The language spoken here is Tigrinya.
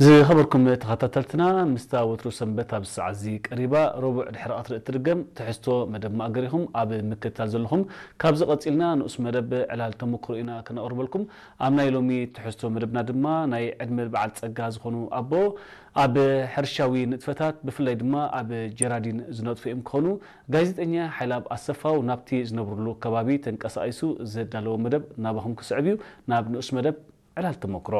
ዝኸበርኩም ተኸታተልትና፣ ምስታ ወትሩ ሰንበት ኣብ ሰዓት እዚ ቀሪባ፣ ረቡዕ ድሕሪ ቀትሪ እትድገም ትሕዝቶ መደብ ማእገር ኢኹም ኣብ ምክትታል ዘለኹም። ካብዚ ቀጺልና ንኡስ መደብ ዕላል ተመክሮ ኢና ከነቕርበልኩም። ኣብ ናይ ሎሚ ትሕዝቶ መደብና ድማ ናይ ዕድመ በዓል ጸጋ ዝኾኑ ኣቦ ኣብ ሕርሻዊ ንጥፈታት፣ ብፍላይ ድማ ኣብ ጀራዲን ዝነጥፉ እዮም ክኾኑ። ጋዜጠኛ ሓይላብ ኣሰፋው ናብቲ ዝነብርሉ ከባቢ ተንቀሳቒሱ ዘዳለዎ መደብ ናባኹም ክስዕብ እዩ። ናብ ንኡስ መደብ ዕላል ተመክሮ።